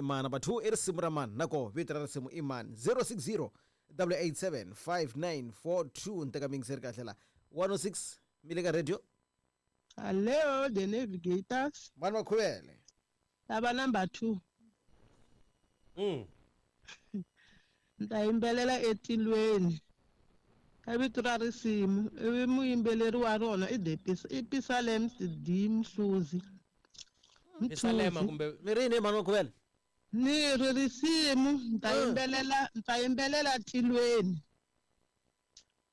i mani. Number 2 i risimu ra mani, nako vito ra risimu i mani. 060 887 5942. Ni teka mingiseri kahle la. 106 mi le ka radio. Hello, the navigators. Mani Makhuvele. Lava number 2. Ni ta yimbelela etilweni. Ka vito ra risimu, ivi muyimbeleri wa rona i the i Pisalems D Mhluzi. Pisalema kumbe mi ri yini mani Makhuvele? Ni ri risimu, ni ta yimbelela, ni ta yimbelela tilweni.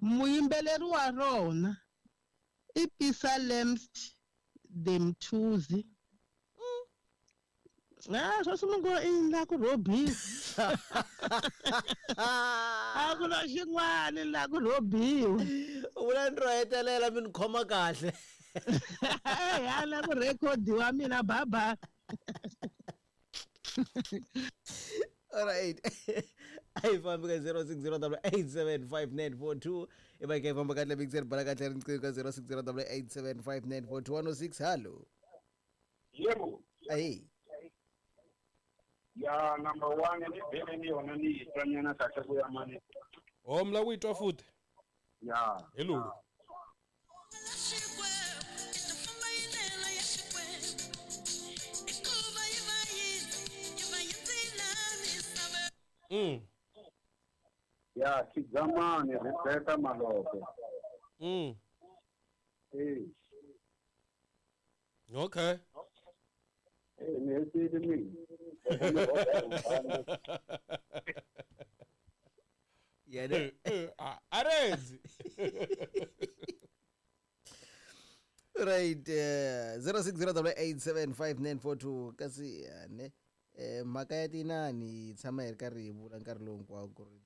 Muyimbeleri wa rona i Pisalems D Mhluzi. Ah, swa mi ngo i la ku rhobiwa. A ku na xin'wana la ku rhobiwa. U vula ni ro hetelela mi ni khoma kahle. Ya la ku rekhodiwa mina bye-bye. All right. A hi fambi ka 060 875 i va hi kha hi famba kahle mixer bala kahle riqingho ka 060 875 106. Hallo. Yebo. Ahi. Ya number 1 ni vele ni yona ni yi twa nyana kahle ku ya mani. Oh, mi lava ku yi twa futhi? Ya. Hi lulu. Ya Khidzamani Rebecca Malope. Eh. Okay. Eh, ni hetile mina. Yena. Arezi. Right, 0608875942 kasi ne mhaka ya tinani yi tshama yi ri karhi yi vula nkarhi lowu hinkwawo ku ri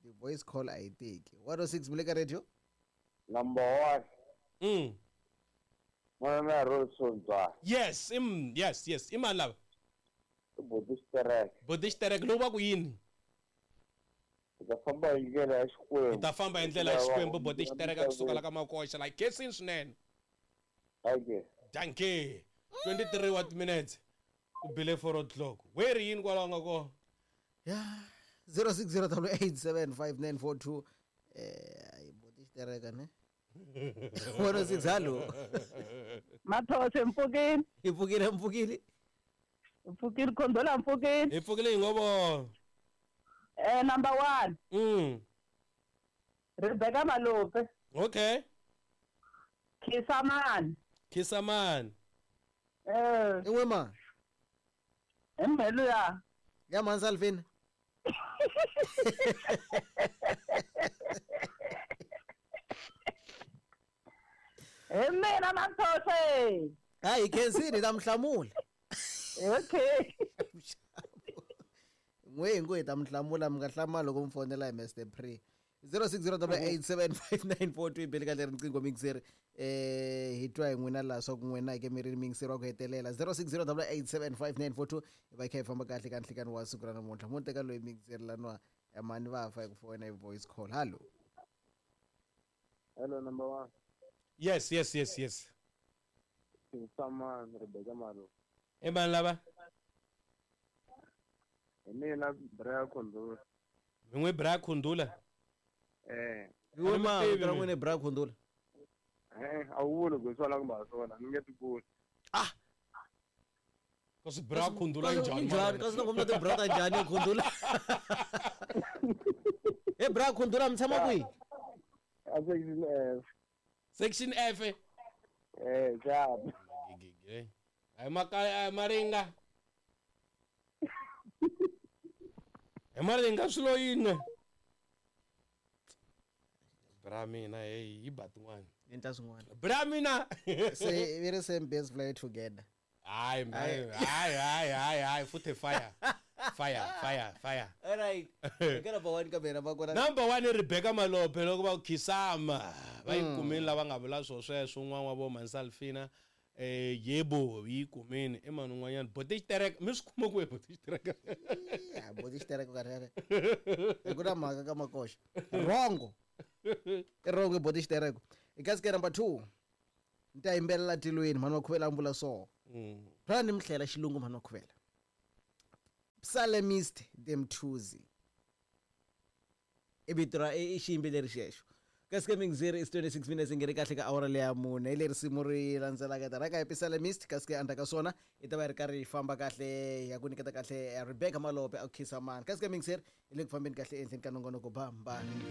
ti voice call a yi teki. 106 mi le ka radio. Number 1. Mwana Rolson Tswa. Yes, yes, yes. I mani lava? I Boti Xitereke. Boti Xitereke lowu va ku yini? Hi ta famba hi ndlela ya Xikwembu. Hi ta famba hi ndlela ya Xikwembu, Boti Xitereke kusuka la ka Makoxa la khensini swinene. Dankie. Dankie. 23 what minutes. Ku bile 4 o'clock. Where yini kwalaho nga kona? Ya 0608875942. Ai Boti Xitereke ne. 106 hallo. Mathose mpfukile. Hi pfukile mpfukile. Mpfukile Khondola mpfukile. Hi pfukile hi ngovo. Number 1. Rebecca Malope. Okay. Khisamani. Khisamani. In'we ma. Emhelo ya. Ya mani Salvin. Hi mina Mathose. Hayi khensini ta mi hlamula. Okay. N'we hi ngo hi ta mi hlamula, mi nga hlamala loko mi fonela hi Mr Pre. 0608875942 bele kahle riqingho mixer. Hi twa hi n'wina laha swa ku n'wina ke mi ri mixer wa ku hetelela. 0608875942 hi va hi kha hi famba kahle ka nhlikani wa siku ra namuntlha. Mo teka loyi mixer laniwa mani va fa hi ku fona hi voice call. Hallo. Hello, number 1. Yes, yes, yes, yes. Khisamani Rebecca Malope. I mani lava? Hi mina Bra Khundula. Mi n'wi Bra Khundula? Eh. Iwe ma vito ra n'wina i Bra Khundula? A wu vuli ku swona kumbe a swona, ni nge ti kuli. Ah. Kasi Bra Khundula njhani? Njhani? Kasi loko mi na ti bra ta njhani Khundula? He Bra Khundula mi tshama kwihi? A section F. Section F. Jab. Ai makaya ai maringa. Ai maringa swilo yini? Bra mina hey yi ba tin'wana. Endla swin'wana. Bra mina. Se we the same best fly together. Hayi hayi hayi hayi hayi futhi fire. Fire fire fire. All right. Eka number 1 kamera va kona. Number 1 i Rebecca Malope loko va ku khisama. Va yi kumile lava nga vula swo sweswo un'wana wa vo Mansalfina. Yebo yi kumile i mani un'wanyana Boti Xitereke mi swi kuma kwihi Boti Xitereke? Ya Boti Xitereke ka rere. Hi ku na mhaka ka Makoxa. Rongo. I rongo Boti Xitereke. Kasi ke number 2. Ni ta yimbelela tilweni mhani wa Khuvela a vula so. Phela ni mi hlela xilungu mhani wa Khuvela. Psalmist Demthuzi i vito ra i xiyimbeleri xexo. Kasi ke mingizeri is 26 minutes nge ri kahle ka awara leya mune, hi leri risimu ri landzelaka ta rhanga hi Psalmist, kasi ke endzhaku ka swona i ta va yi ri karhi yi famba kahle ya ku nyiketa kahle Rebecca Malope a khisa mani. Kasi ke mingizeri hi le ku fambeni kahle ehenhleni ka nongonoko bambani.